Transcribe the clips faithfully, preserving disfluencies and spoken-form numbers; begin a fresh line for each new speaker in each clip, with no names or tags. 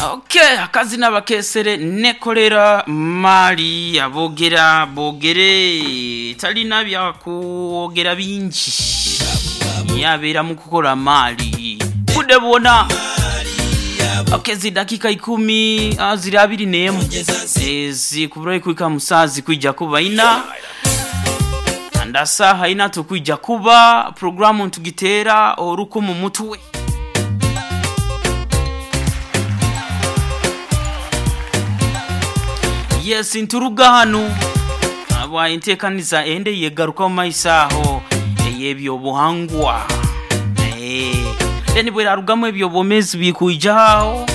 Okay, akazina bakesere nekolera mali abogera bogere talina byakwogera bingi yabeera mu kukola maali budde bwona. Okay, zidakika ikumi ah, ziri abiri n'emu ezikubura kuika musazi kwijja kuba ina andasaha ina tukwijja kuba programu ntugitera orukumu mutwe. Yes, nturuga hano aba enteekaniza ende yegaruka mu maiso aho ey'ebyobuhangwa. Eh, then bwerarugamu ebyobwomezi bikwijaho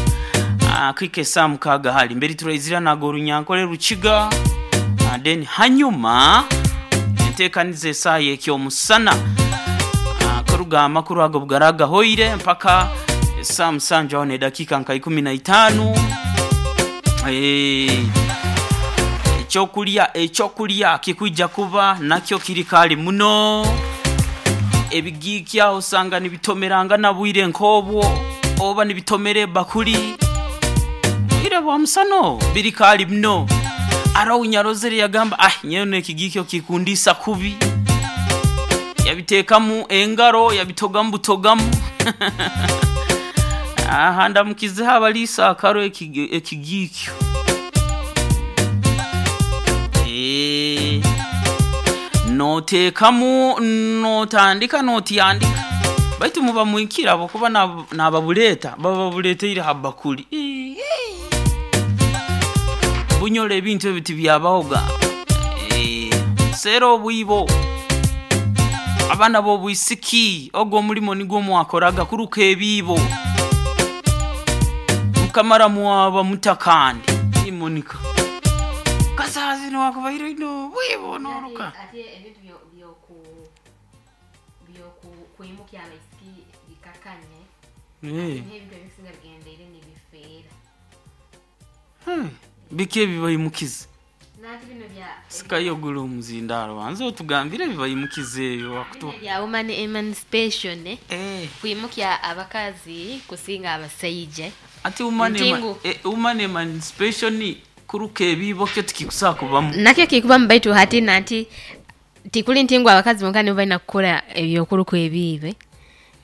aho kwika esaa mukaaga hali mberi turaizira nago orunyankole rukiga. Ah, then hanyuma enteekaniza esaaha y'ekyomusana. Ah, kuruga amakuru ago bugaragahoire mpaka esaa musanju aho n'edakiika nka ikumi na itaano. Eh, ekyokulya ekyokulya kikwijja kuba nakyo kiri kali muno ebigiikya osanga nibitomeranga na bwire nk'obwo oba nibitomera ebakuli bwire bwa musano biri kali muno. Araho nyarozere yagamba ah nyewe n'ekigiikyo kikundisa kubi, yabiteekamu engaro yabitogamu butogamu. Aha ndamukizeho abaliisa akaro ekigi- ekigiikyo. Eh, noteekamu notandika notyandika baitu muba mwikira abokuba nab- nababuleeta baba babuleeteire ha bakuli. Ii, bunyora ebintu ebyo tibyabahoga. Eh, seera obwibo abaana b'obwisiki ogwo omulimo nigwo mwakoraga kuruka ebiibo mukamara mwaba mutakandi imonika kasazi niwakubaire ino bwibo noruka.
Ate ebintu byo- byoku byoku- kwimukya abaisiki bikakanye
Eh,
n'ebintu ebisinga bigendeire nibifeera
hmm, biki ebibayimukize
nanti bino bya
sikayogula omuzindaalo banze otugambire ebibayimukize ebyo wakutu
bino bya woman emancipation eh,
Eh,
kwimukya abakazi kusinga abasaija
ati woman ema-
Ntingu.
eh, woman emancipation kuruka ebiibo kyo tikikusobola kubamu.
Nakyo kikubamu baitu hati nanti tikuli nti ngu abakazi bonka nibo balina kukora ebyokuruka ebiibe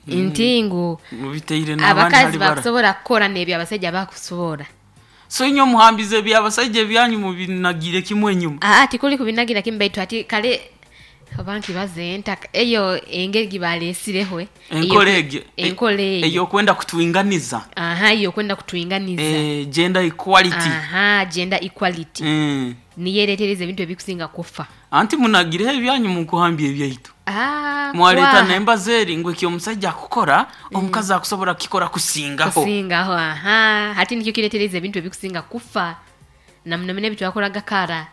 nti ngu
mubiteire n'abandi
abakazi
hali bara
bakusobola kukora n'ebyo abasajja bakusobola.
So inywe muhambize ebyabasajja ebyanyu mubinagire kimwe enyuma.
Aa tikuli kubinagira kimu baitu ati kale oba nkibaze ntaka eyo engeri gibalesireho eh,
enkola
eyo-
egyo
enkola eyo
eyokwenda kutwinganiza.
Aha, eyo kwenda kutwinganiza.
Eh, gender equality.
Aha, gender equality
Mm.
niyo eretereza ebintu ebikusinga kufa.
Anti munagireho ebyanyu mukuhambya ebyaitu.
Ah,
mwaleeta
kwaha.
nembaza eri ngu eki omusajja akukora omukazi akusobola kukikora kusingaho.
Kusingaho, aha, hati nikyo kiretereza ebintu ebikusinga kufa namuno ebi twakoraga kara.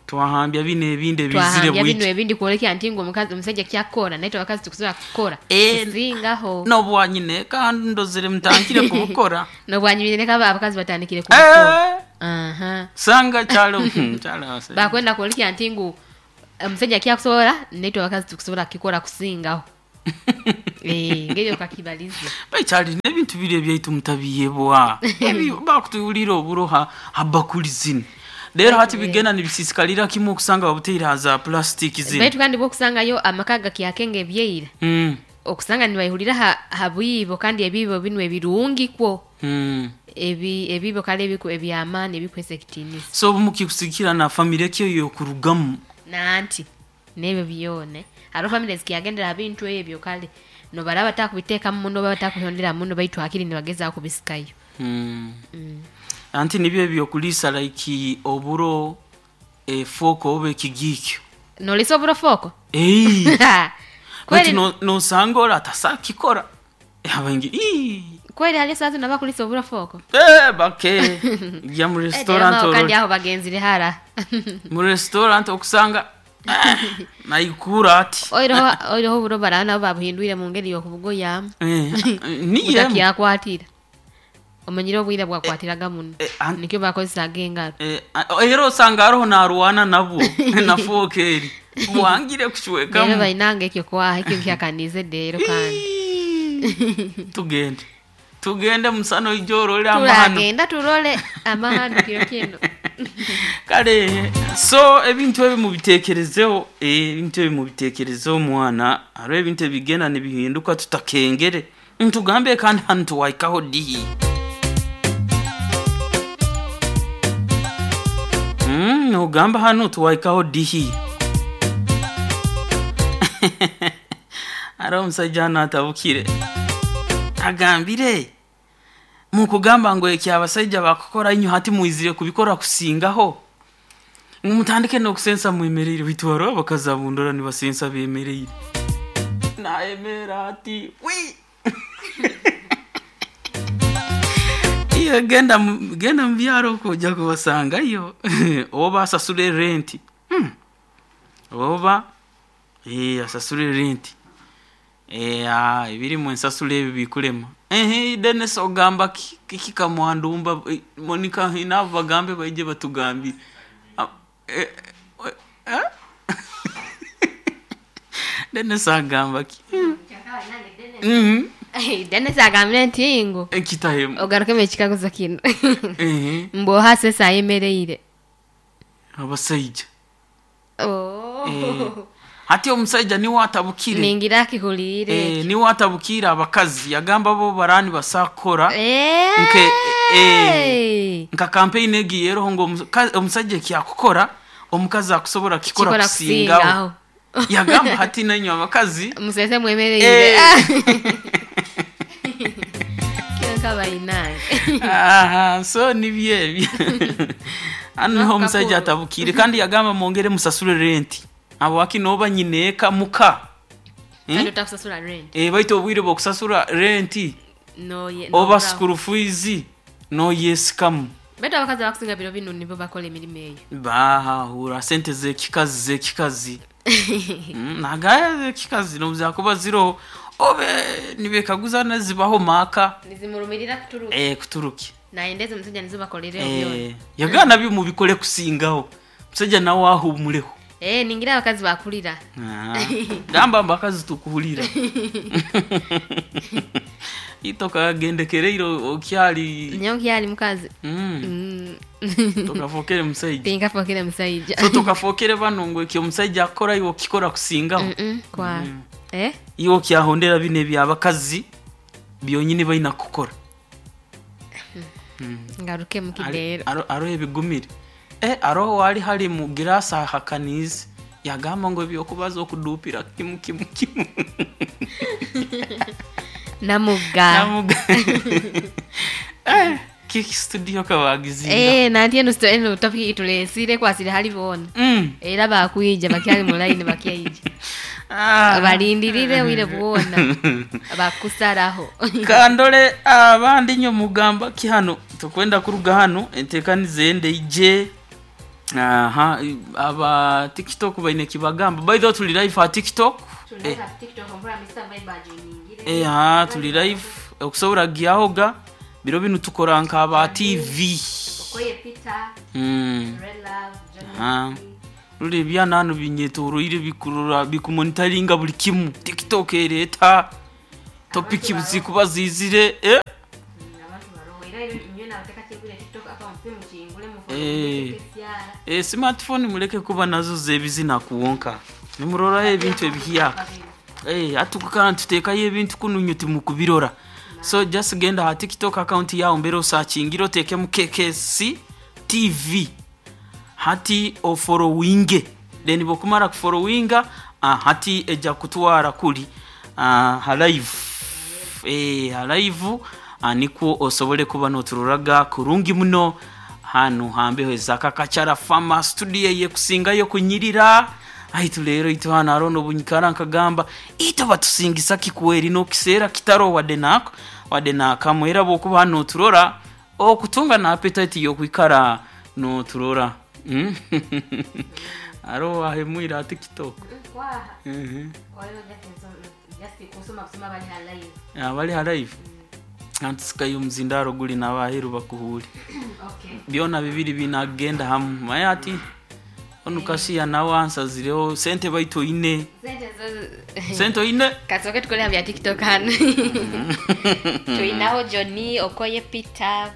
Twahambya bino ebindi ebizire
twahambya bino
bwiki
ebindi kwolekya nti ngu omukazi omusajja kyakora naitwe abakazi tukusobola kukora
Eh,
kusingaho.
n'obwanyine kandi ndozere mutandikire kubukora.
Nobwanyumire leka aba- abakazi batandikire kubukora.
Eh,
Aha.
sanga kyalo hmm, kyalo abasajja.
Bakwenda kwolekya nti ngu omusajja kyakusobola naitwe abakazi tukusobola kukikora kusingaho. Eh, ngeri okakibaliza.
Baikyali n'ebintu biri ebyaitu mutabiyebwa. Ebi- bakutuwulira oburo ha ha bakuli zino leero hati bigenda nibisisikalira kimu okusanga babuteire ha za plastic zino.
Baitu kandi bwokusangayo amaka gakyakenga ebyeira
Mm,
okusanga nibaihurira ha, ha bwibo kandi ebibo binu ebirungi kwo
mm.
ebi ebibo kale ebiku ebyamaani ebikwesa ekitiinisa.
So obu mukikusikira na famire ki eyo yokurugamu?
Nanti n'ebyo byona hariho famire zikyagendera ha bintu ebyo kale nobaraba batakubiteekamu muno oba batakuhondera muno baitu hakiri nibagezaho kubisikayo.
Mm. Anti nibyo ebyokuliisa like oburo efooko oba ekigiikyo.
Nolisa oburo fooko.
Ei,
kweri
baitu no- nosanga ora atasakikora abaingi "Ii,
kweri hali esaazi nabakulisa oburo fooko.
eh, bake gya mu restaurant
Eh, kandi
orore
aho bagenzire hara.
Mu restaurant okusanga ah, naikura ati.
Oiroho oiroho oburo baraba nabo babuhindwire mu ngeri y'okubugoyamu
Eh, niye
butakyakwatira omanyire obwire bwakwatiraga muno
Eh, an-
nikyo bakozesaga engaro.
Eh, a- era osanga hariho narwana nabwo na fooko eri bwangire
Rero
kucwekamu.
bainanga ekyo kwaha ekyo nkyakanize deero kandi
Ii, tugende. Tugende musana oije orole amahano.
Turagenda turole amahano kiro kino.
Kale so ebintu ebi mubitekerezeho, eh, ebintu ebi mubitekerezeho mwana, hariho ebintu ebigenda nibihinduka tutakengere. Ntugambe kandi hanu tuwaikaho dihi. Mm, ogamba hanu tuwaikaho dihi. Hariho omusajja hanu atabukire. Agambire mukugamba ngu eki abasajja bakukora inyo hati mwizire kubikora kusingaho. Mutandike n'okusensa mwemereire, baitu hariho abakazi abundora nibasensa bemereire. Naemera ati wi. Iyo genda mu- genda mu byaro okwo ojja kubasangayo. Oba asasule renti. Hmm. Oba eh asasule renti. Eh ah ebirimu ensasula ebi bikulema. Ehe Dennis ogamba ki kiki kamwandumba eh, Monica nabo bagambe baije batugambire. Ah, eh, eh, eh? Dennis agamba ki? Mhm.
Dennis agambire nti ngo
Ekitahemu.
ogarukemu ekikaguzo kino.
Ehe.
Mboha sesa ayemereire.
Abasaija.
Oh.
Eh, hati omusaija niwe atabukire.
Ningira akihuriire.
Eh, niwe atabukire abakazi yagamba bo barani basakora
Eh.
nke eh, nka campaign egi yeroho ngo omuka- omusajja ekyakukora omukazi akusobola kikora
Kikora
kusingaho.
kusingaho.
Yagamba hati nanywe abakazi
Musese mwemereire.
Eh.
Kyo kabainange.
Aha, so nibyo ebyo. Hano niho omusajja atabukire kandi yagamba mwongere musasule renti. Abo wakinoba nyineeka muka.
Kandi
Eh?
utakusasula rent.
Eh, baitu obwire bw'okusasula renti
No ye. no
oba
bravo.
school fees noyesikamu.
Baitu abakazi abakusinga biro bino nibo bakola emirimu eyo.
Bahahura sente z'ekikazi z'ekikazi. Mm, nagaya z'ekikazi nobuzakuba ziroho obe nibekaguzana zibaho maaka
Nizimurumirira kuturuka.
eh, kuturuki.
Nayendeza omusajja nizo bakolereho byona.
Eh, yagana nabyo mubikole kusingaho. Musajja nawe ahumuleho.
Eh, ningira abakazi bakulira.
Ah, gamba mbakazi tukuhulira. Itoka gendekereire okyali.
Nyawo kyali mukazi.
Mm,
Mm.
tokafokere musajja.
Tinkafokere musajja.
So tokafokere bano ngo ekyo omusajja akora iwe okikora kusingaho.
Mm-mm, kwa. Eh?
Iwe okyahondera bino ebyabakazi byonyini balina kukora.
Ngaruke mu kideero.
Aro aro ebigumire. Eh, aroho wali hali mu girasa ahakanize yagamba ngo ebyokubaza okudupira kimu kimu kimu.
Namuga.
Namuga. Eh, kiki studio kabagizinga.
Eh, nanti eno sto eno topic itulesire kwasire hali bona.
Mm.
Era bakwija bakyali mu line bakyaija.
Ah.
Balindirire wire bwona. Bakusaraho.
Kandole abandi nyo mugamba ki hano tukwenda kuruga hano entekanize ende ije. Aha, aba TikTok baine kibagamba. By the way tuli live ha TikTok. Eh, eh ha tuli live okusobora gyahoga biro binu tukora nka aba T V. Mm. Ha. Ruri ebyana hano binyetoroire bikurura bikumonitaringa buli kimu. TikTok ereta topic zikuba zizire eh Eh. Eh, smartphone muleke kuba nazo zebizina kuwonka. Nimuroraho ebintu ebihyaka. Eh, atukukana tutekayo ebintu kununyu timukubirora. So just genda ha TikTok account yawe mbere osakingiro otekemu K K C T V. Hati ofollowinge. Then bokumara kufollowinga, ah, hati eja kutwara kuli ah, ha live. Eh, ha live ah, nikwo osobole kuba notururaga kurungi muno. Hano hambeho ezakakachara fama studio ye kusingayo kunyirira. Aitu lero itu hano arono bunyikara nkagamba ito batusingisa kikuweri no kisera kitaro wade nako wade nakamwe era bokuba hano turora okutunga na appetite yo kwikara no turora. Mm? Aro ahemwira TikTok. Mhm. Abali ha live. Antusikayo muzindaro guli n'abaheru bakuhuri. Byona bibiri binagenda hamwe. Maye ati Onu kashiya nawe ansazireho sente baitu oine.
Sente zo
Sente oine.
Kasoke tukole bya TikTok hano. Tulinaho Johnny Okoye Peter,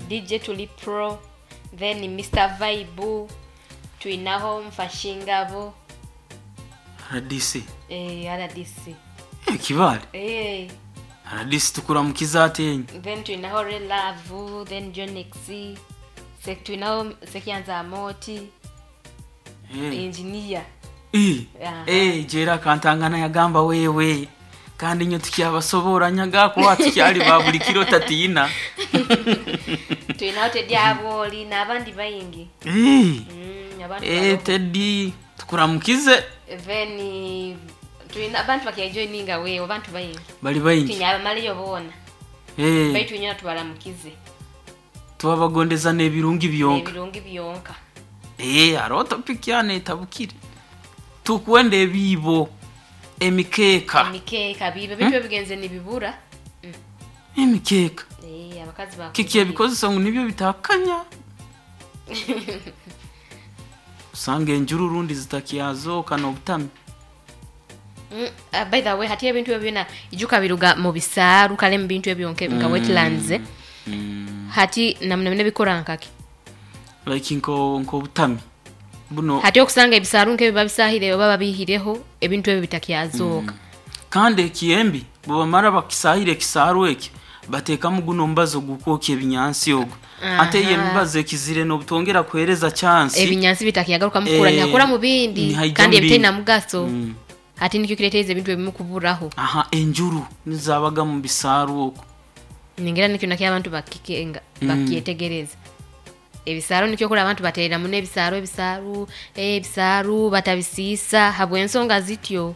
D J Tuli Pro, then Mister Vibe, tulinaho Mfashingabo.
R D C.
Eh, R D C.
Eh, kibale.
Eh.
R D C tukuramukiza atenyi.
Then tulinaho Relavu, then John X, Se, tulinaho Sekianza Amoti.
Eh.
Engineer.
Eh,
Aha.
eh, jera kantangana yagamba wewe kandi nyo tukyabasobora nyaga kuba tukyali ba buli kiro tatiina.
Tulinaho Teddy Aboli n'abandi bayingi.
Eh,
mm, abantu
eh,
baroho.
Teddy tukuramukize.
Then tulina abantu bakyajoininga wewe, abantu bayingi.
Bali bayingi.
Tinyabamaliyo boona.
Eh,
baitu nyina tubaramukize.
Twabagondeza n'ebirungi byonka.
Ebirungi byonka.
Eh, hariho topic yano etabukire tukwenda ebiibo, emikeeka.
Emikeeka bibe bintu ebigenze nibibura. Mm.
Emikeeka.
Eh, abakazi ba
Kiki ebikozesa ngu nibyo bitakanya usanga enjuru rundi zitakyazoka n'obutami.
Mm, uh, by the way, hati ebintu ebyo byona ijuka biruga mu bisaaru, kale mu bintu ebyo nke- nka wetlands, eh. Hati namuna bine bikora nkaki?
Like nko nk'obutami buno.
Hati okusanga ebisaaru nk'ebyo babisahire oba babihireho, ebintu ebyo bitakyazooka.
Kandi ekiyembi bwebamara bakisahira ekisaaru ekyo bateekamu guno omubazi ogukwokya ebinyansi ogwo, ate iyo emibazi ekizire n'obutongera kuhereza chansi.
Ebinyansi bitakyagaruka mukura.
Eh,
nihakura mu bindi.
Nihaija
Kandi
mu bindi.
ebitaina mugaso.
Mm.
Hati nikyo kiretereza ebintu ebimu kuburaho.
Aha, enjuru nizabaga mu bisaaru okwo.
Ningira nikyo nakyo abantu bakikenga, bakyetegereza ebisaaru, nikyo kula abantu baterera muno ebisaaru, ebisaaru, eh, ebisaaru batabisiisa habw'ensonga zityo,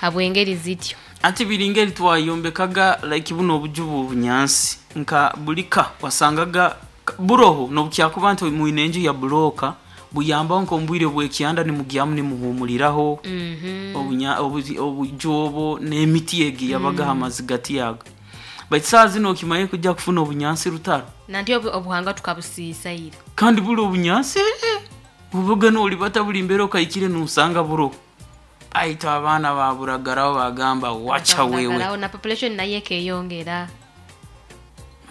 habw'engeri zityo.
Ati biringa eri twayombekaga like buno obuju obunyansi nka bulika wasangaga buroho nobukyakuba nti mwine enju ya buloka buyambaho nk'omubwire bw'ekyanda nimugyamu nimuhumuliraho.
Mhm.
Obunya- obuzi- obuju obwo n'emiti egi yabagaho amazi gati yago, baitu saa zino okimaye kujja kufuna obunyansi rutaro.
Nanti obu- obuhanga tukabusiisa ira.
Kandi buli obunyansi, eh, bubuga nolibata buli mbeera okaikire nusanga buroho, aitu abaana baburagaraho bagamba wacha wewe.
Bakabulagalaho, na population nayo ekeyongera,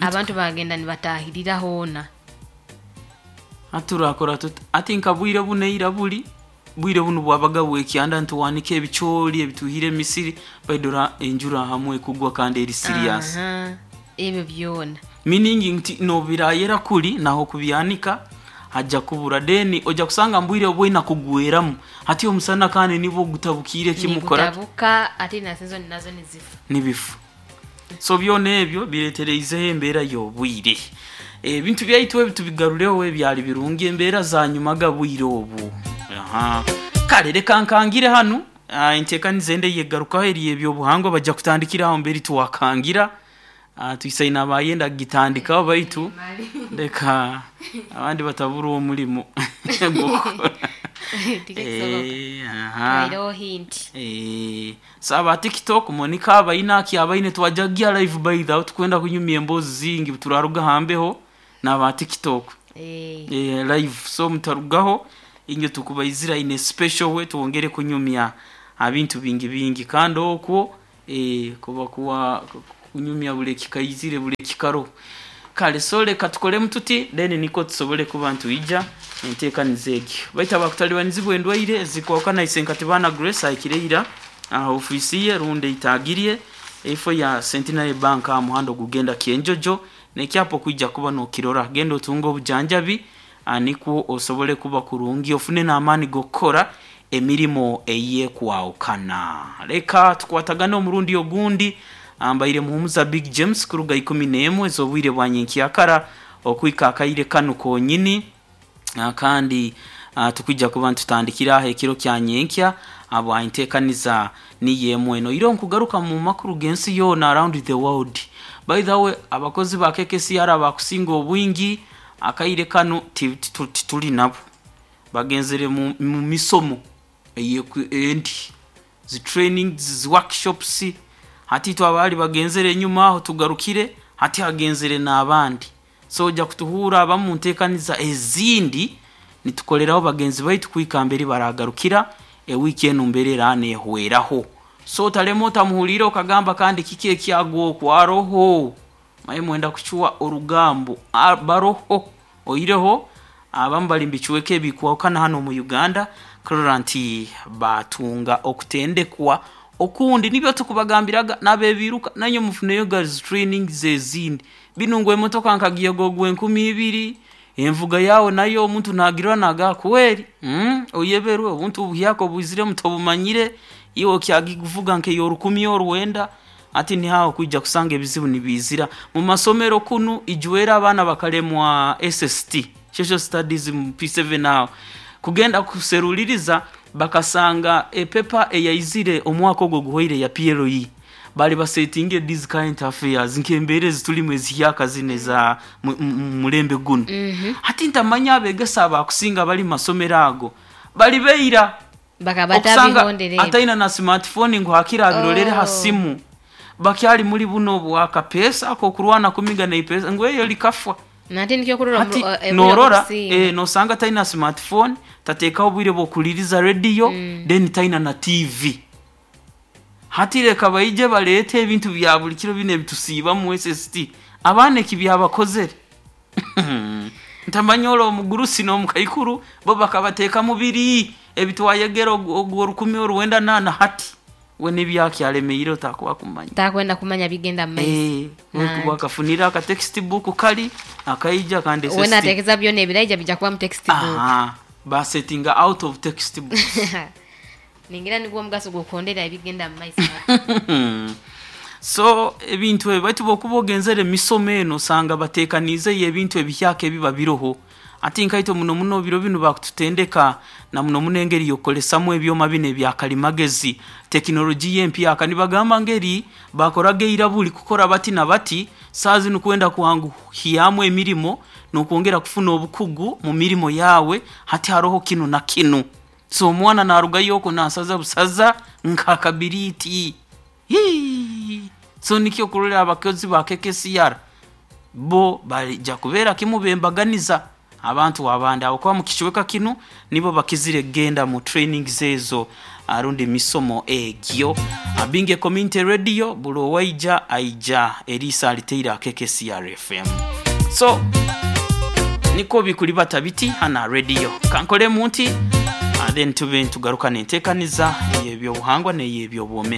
abantu bagenda nibatahirira hoona.
Aturakora tuti ati nka bwire buno eira buli bwire buno bwabaga bwekyanda ntuwanika ebicooli ebituhire emisiri baidora enjura hamwe ekugwa kandi eri serious.
Aha, ebyo byona.
Meaning nti nobirayera kuli naho kubyanika hajja kubura, then ojja kusanga mbwire obwina kugweramu hati omusana kandi nibwo gutabukire kimukora.
Nigutabuka ate na season nazo nizifa.
Nibifu, so byona ebyo biretereizeho embeera y'obwire. Ebintu byaitu ebi tubigarureho ebyali birungi embeera zanyumaga bwire obu. Aha, kale reka nkangire hanu. Ah, enteekaniza ende yegarukaho eri ebyobuhangwa bajja kutandikira aho mberi tuwakangira. Ah, tuisaine abayenda kugitandikaho, baitu reka abandi batabura omulimo gw'okukora.
Tikisoboka.
Eh, aha.
Twaireho hint.
Eh, saba TikTok Monica abaina aki abaine twajagia live by the way, tukwenda kunyumya emboozi zingi turaruga hambeho n'aba TikTok.
Eh,
eh, live, so mutarugaho inyo tukubaizira in a special way, tuwongere kunyumya abintu bingi bingi kandi okwo eh, kuba kuwa kunyumya buli kikaizire buli kikaro. Kale so leka tukolemu tuti then niko tusobole kuba ntuija enteekaniza egyo baita bakutalibanizibwa endwaire ezikwakana isenkatibana Grace aikireira aha ofiisi ye rundi eitagirye efo ya Centenary Bank aha muhanda ogugenda Kyenjojo nekyapo kwijja kuba nokirora, genda otunga obujanjabi, ah, nikwo osobole kuba kurungi ofune n'amaani g'okukora emirimu eyekwawukana. Leka tukwatagane omurundi ogundi. Ambaire muhumuza Big James kuruga ikumi n'emwe ez'obwire bwa nyenkyakara okwika akaire kanu konyini. Ah, kandi ah, tukwijja kuba ntutandikira aho ekiro kya nyenkya abo enteekaniza niyo emwe eno iro nkugaruka mu makuru g'ensi yoona around the world. By the way, abakozi ba K K C R bakusinga obwingi akaire kanu ti- ti- tituli nabo, bagenzere mu, mu misomo eyeku- endi zi training, zi workshops. Hati itwe abaali bagenzere enyuma aho tugarukire hati hagenzere n'abandi, so ojja kutuhuura abamu nteekaniza ezindi. Nitukoleraho bagenzi baitu kuhika mbere baragarukira ewiki enu mbere era nehweraho. So otalema otamuhulire okagamba kandi kiki ekyagwa okwaroho maye mwenda kuchwa orugambo. Ah, baroho oireho abamu bali mbichweka ebikwahukana hano mu Uganda kurora nti batunga okutendekwa okundi. Nibyo tukubagambiraga n'abebiruka nanyo mufuneyo girls training zezindi binu ngu emotoka nkagiyogogwa enkumi ibiri envuga yawe nayo omuntu nagirwa naga kweri mm, oyeberwe obuntu obuhyaka obwizire mutobumanyire iwe okyagikuvuga nk'eyorukumi orwenda. Ati nihaho kwija kusanga ebizibu nibizira mu masomero kunu. Ijwera abaana bakalemwa S S T, social studies, mu P seven aho kugenda kuseruliriza bakasanga epepa eyaizire omwaka ogwo guhoire ya P L E bali basetinge these current affairs nk'embeera ezitulimu ezihyaka zino eza mu- mu- mulembe guno. Hati ntamanya abegesa abakusinga bali mu masomero ago bali beira
bakaba
okusanga
batabihondera ebyo.
Ataina na smartphone ngu hakira abirolere ha
Oh.
simu. Bakyali muri buno bwakapesa akokurwana kumiga neipesa ngu eyo likafwa.
Nate nikyo kurora
Hati
omu- eh,
norora
okusinga.
eh, nosanga taina smartphone, tateekaho obwire bwokuliriza radio mm. Then taina na T V. Hati reka baije baleete ebintu bya buli kiro bino ebitusiibamu S S T abaana eki byabakozere. Ntamanya olwo omugurusi n'omukaikuru bo bakabateeka mu biri ebitwayegera ogwo orukumi oruwenda nana. Hati we nibyakyaremeire otakuba kumanya.
Takwenda kumanya bigenda mu maiso.
Eh,
Nanti.
Wakafunira aka textbook kali akaija kandi
We
S S T.
nateekeza byona ebiraija bijja kuba mu textbook.
Aha, basettinga out of textbooks.
Ningira nigwo omugaso gw'okuhondera ebigenda mu maiso.
So ebintu ebyo baitu bwokuba ogenzere emisomo eno osanga bateekaniizeyo ebintu ebihyaka ebiba biroho. Ati nkaito muno muno biro binu bakututendeka na muno muno engeri yokukolesamu ebyoma bino ebyakalimagezi, tekinologiya empyaka. Nibagamba ngeri bakoraga eira buli kukora bati na bati saa zinu kwenda kuhanguhyamu emirimo n'okwongera kufuna obukugu mu mirimo yawe. Hati haroho kinu na kinu, so omwana narugayo oko nasaza busaza nkakabiriti. Hii. So nikyo kurora abakozi ba K K C R bo balija kubeera kimu bembaganiza abantu abandi abo kuba mu kicweka kinu nibo bakizire genda mu trainings ezo arundi emisomo egyo. Abinge Community Radio buli owaija aija eriisa aliteire K K C R F M. So niko bikuli bata biti hana radio kankolemu nti ah, then tube ntugaruka nenteekaniza ey'ebyobuhangwa n'ey'ebyobwomeezi.